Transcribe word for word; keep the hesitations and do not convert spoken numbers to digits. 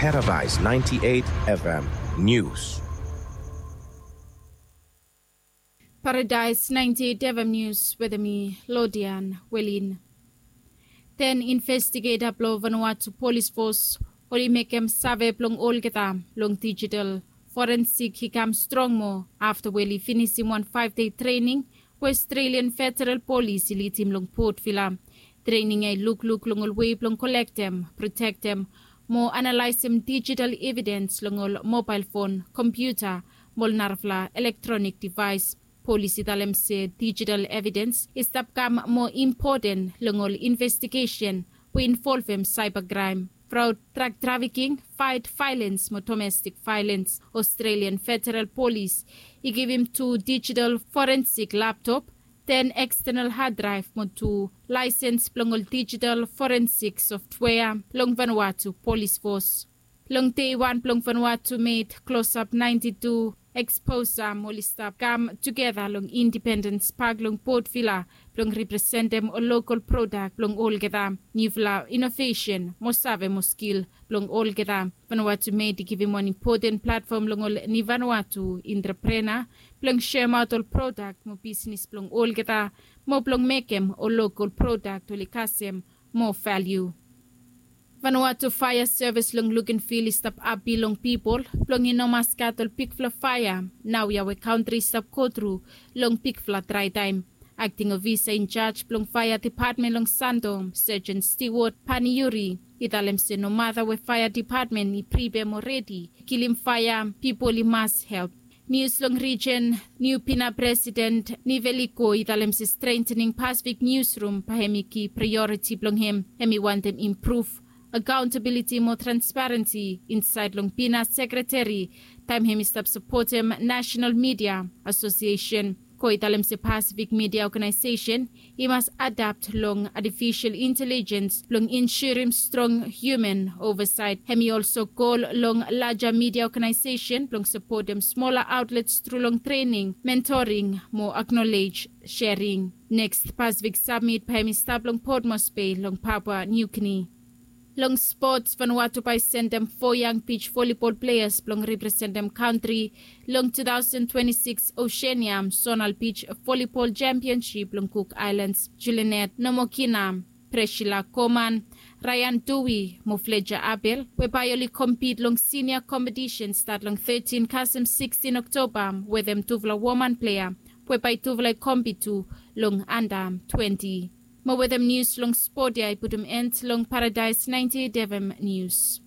Paradise ninety-eight F M News. Paradise ninety-eight F M News wetem mi, Lodian Welin. Ten investigeta blong Vanuatu Polis Fos oli mekem save blong olgeta long digital forensik i kam strong moa afta we oli finisim wan faef dei trening we Australian Federal Polis i lidim long Port Vila. Trening ya i lukluk long ol wei blong kolektem, protektem mo analaesem digital evidens long ol mobael fon, kompiuta mo ol narafala elektronik devaes. Polis i talem se digital evidens i stap kam moa impoten long ol investigesen we involvem saeba kraem, fraod, drag trafiking, faet vaelens mo domestik vaelens. Australian Federal Polis i givim tu digital forensik laptop, ten ekstenal had draev mo tu laesens blong ol digital forensik softvea long Vanuatu Polis Fos. Long dei wan blong Vanuatu med klosap naenti tu eksposa oli stap kam tugeta long Independens Pak long Port Vila blong representem ol lokol prodak blong olgeta, niufala inovesen mo save mo skil blong olgeta. Vanuatu med i givim wan impoten platfom long ol ni Vanuatu entreprena blong seremaot ol prodak mo bisnes blong olgeta mo blong mekem ol lokol prodak oli kasem moa valiu. Vanuatu Faea Sevis long Luganville i stap api long pipol blong i no mas gat ol bigfala faea naoia we kantri i stap gotru long bigfala draetaem. Akting ofisa injaj blong faea depatmen long Santo, Sergeant Stewart Paniuri, i talem se nomata we faea depatmen i pripea mo redi kilim faea, pipol i mas help. Nius long rijen, niu Pina presiden Niveliko i talem se strentening Pasifik niusrum bae hemi ki praeoriti blong hem. Hemi wantem impruv akaontabiliti mo transparensi insaed long Pina sekreteri taem hemi stap sapotem Nasenal Midia Asosiesen. Ko i talem se Pasifik Midia Oganaesesen i mas adapt long atifisel intelijens blong insurim strong hiuman ovasaet. Hemi olso gol long laja midia oganaesesen blong sapotem smola aotlets tru long trening, mentoring mo aknolej sering. Neks Pasifik Samit bae hemi stap long Port Moresby long Papua New Guinea. Long spots, Vanuatu bae i sendem fo yang bij volibol pleas blong representem kantri long two thousand twenty-six Oceania Zonal Beach Volleyball Championship long Cook Islands. Julinet Nomokina, Priscilla Coman, Ryan Dewey mo Fletcher Abel we bae oli kompit long sinia kompetisen stat long thirteen kasem sixteen Oktoba wetem tufala woman plea we bae tufala i kompit tu long anda twenty. Mo wetem nius long spot ya i putum en long Paradise ninety-eight F M Nius.